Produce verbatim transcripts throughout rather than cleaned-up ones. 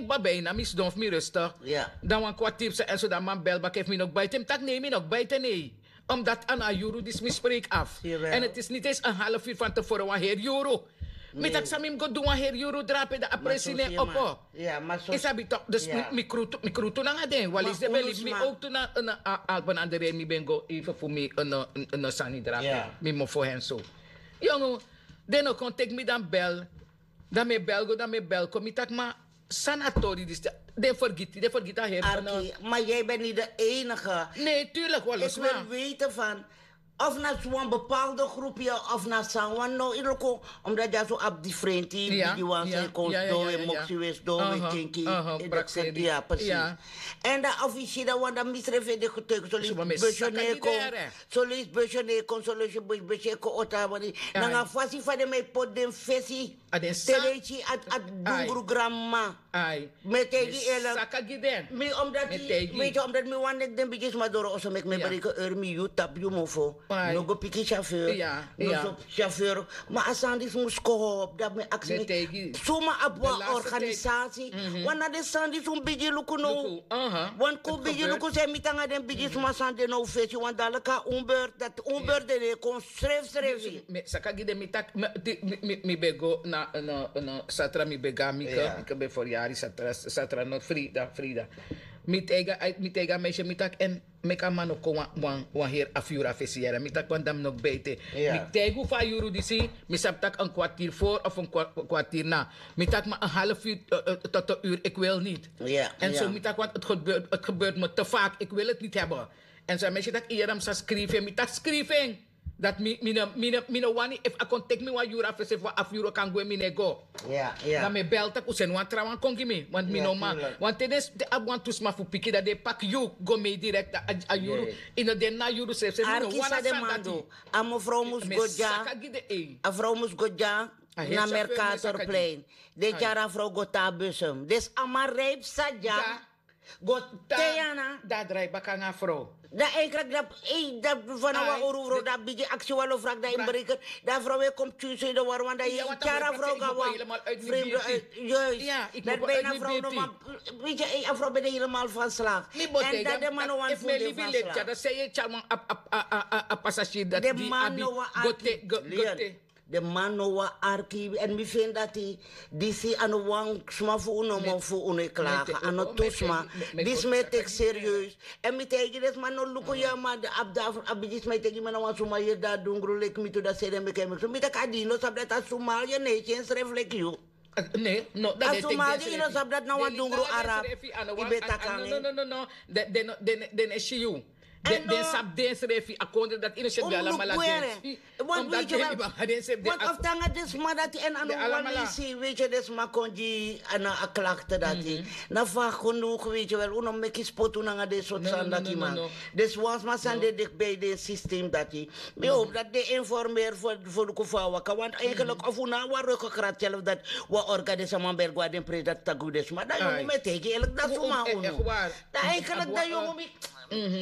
Baba, bijna mi sidon fu mi rustig. Dan wan kwartier psa en so dan man bel baka efu mi no kbaite mi taki nee mi no kbaite nee. Omdat a na a yuru disi mi spreek af. En het is niet eens een half uur van tevoren wan heri yuru. Mi taki san mi mus go du wan heri yuru drape dan a presi ne opo. Yu sabi tok dus mi krutu nanga den wali se ben libi mi ook tu na alpen andere mi ben go even fu mi sani drape. Mi mofo hen so. Yongu, den no kon teki mi dan bel. Dan mi e bel go dan mi e bel kon mi taki ma san na tori disi. Den fergiti den fergiti a heri. Ma jij bent niet de enige. Nee tuurlijk wali sma. Weten van of na wan bepaalde groep ya of na san wan no iloko. Omdat ya so abi differenti bigi wan san kon do we moksi we so do we kinki. Ya precies. En dan officier dan wan dan misrefi de getuige so lees busyo ne kon. So lees busyo ne kon so lees busyo kon ota wani nanga fasi fa den mi e poti den fesi. Te den si a dungru granma. Mi e taigi yu elek. Mi omdati mi wani leki den bigisma doro oso meki mi e breke eur mi yu tapu yu mofo. No go piki syafeur. No so syafeur. Ma a sani disi mus kohopu dati mi e aksi mi suma abi wan organisasi. Wan na den sani disi un bigi luku now. Wan kon bigi luku san e miti nanga den bigisma sani de now fesi wan dalika un beurt dati un beurt de ne kon srefsrefi. Saka gi den mi taki mi ben go na satra mi ben go na mike mike ben foryari satra satra no frida frida. Mi taigi a meisye mi taki en meki a man no kon wan heri afu yuru a fesi yara mi taki wan dam no kbeite. Mi taigi un fu a yuru disi. Mi sabi taki en kwartier for of en kwartier na. Mi taki ma en half yuru tot en yuru eki wil niti. En so mi taki want het gebeurt me te fak eki wil heti niti heben. En so a meisye taki yu yere mi sa skrifi en mi taki skrifi en. Dati mi no wani efu a kon teki mi wan yuru a fesi efu wan afu yuru a kan gwe mi no e go. Dan mi e bel tak' un seni wan trawan kon gi mi. Want mi no man. Want te den abi wantu sma fu piki dan den e paki yu go mei direkti a yuru. Yu no de na a yuru srefi srefi mi no wani a sani dati. A mefrow mus go dya. A frow mus go dya. Na merkatorplein den e tyari a frow go tan a busum den si a man rijpi sa dya. Go tan. Dan a drai baka nanga a frow. Dan eigenlik dan ei dan fana wan uru frow dan a bigi aksi wan lo frak dan inbreker. Dan a frow e kon pikin so ini de warwan dan yu tyari a frow go na wan. Vreemde uit juist. Dan bijna a frow no man. Weet je ei a frow ben de helemaal van slag. En dan de man no wan fu de van slag. Dan sei e tyari wan a passagier dati di abi go te go te. Den man no wan arki èn mi feni dati disi a no wan sma fu unu no man fu unu e klage a no tu sma. Disi mi e teki serieus. Èn mi taigi den sma no luku yu a man de abi dafuru abi disi mi e taigi mi na wan suma yeri dan a dungru leki mi tu dan sede meki en meki so mi taki a di yu no sabi dati a suma yu ne e si ensrefi leki yu. A suma yu no sabi dati na wan dungru arab. Yu ben taki nanga en. Den no e si yu. Den sabi densrefi a kondre dati yu no seti ben alamala densi. Wan of tanga den sma dati èn a no wan lesi weiti den sma kon gi a klakte dati. Na fa genoeg weiti wel un no meki spotu nanga den sortu sani dati man. Dus wan sma sani de dikbi den system dati. Mi howpu dati den informeri fu luku fu a waka want eigenlik of un no a wan roko kratself dati. Wan orga den sama beri go na den pres dati taki un den sma dan yongu mi e taigi elk dati suma unu. Dan eigenlik dan yongu mi.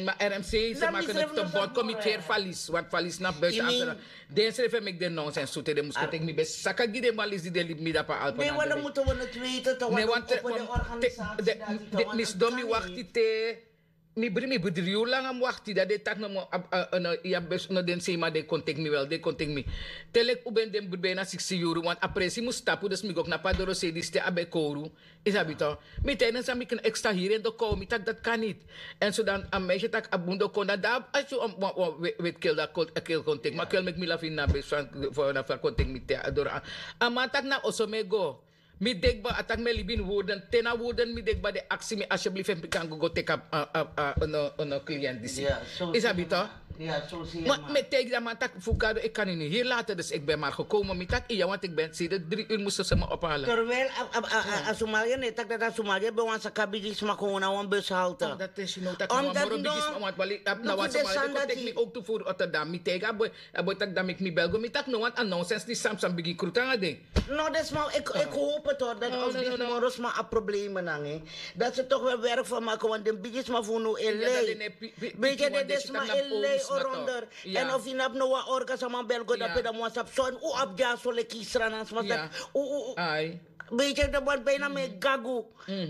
Ma rmc se maken het te bot committeer valis want valis na buiten amsterdam. Den srefi e meki den nonsens so te den mus kon teki mi ben saka gi den valis di den libi mi dapu a alpen. Mi sidon mi wakti te mi bri mi bri dri yuru langa mi wakti dan den taki no mi abi no den seiman den kon teki mi wel den kon teki mi. Te leki un ben den bri ben na siksi yuru want a presi mus tapu dus mi go knapu a dorosei disi te a ben kowru. Yu sabi to. Mi taigi den san mi kna ekstra hiri en dokow mi taki dati kan niti. Èn so dan a meisye taki a bun dokow na dan a si wan weti kel dan a kel kon teki mi a kel meki mi lafu ini na besi fan na fu a kon teki mi te a doro. A man taki na oso mi e go. Mi de kba a taki mi e libi ini wurden te na wurden mi de kba den aksi mi asyeblifi efu mi kan go go teki a no kliyent disi. Yu sabi to. Mi e taigi den man taki fu gado eki kan ini hiri later dus eki ben mari gekomen mi taki iya want eki ben sede dri uru mus sese mi ophalen. Terwijl a somalia no e taki dati a somalia ben wan saka bigi sma kon na wan bus halte. Omdat no luku den sani dati mi ook tu furu other dan mi taigi a boi a boi taki dan meki mi bel go mi taki no want a nonsens ni samsam bigi krutu nanga den. No den sma eki hopen tok dati of disi moro sma a probleme nanga en. Dati se tok wel werk van maken want den bigi sma fu unu e lei. Beti den sma e lei. Ronder. En of yu nabi no wan orga sama bel go dape dan mo sabi son u abi dyaso leki srana sma sabi u u. Ai. Beitye de bon bijna me gagu.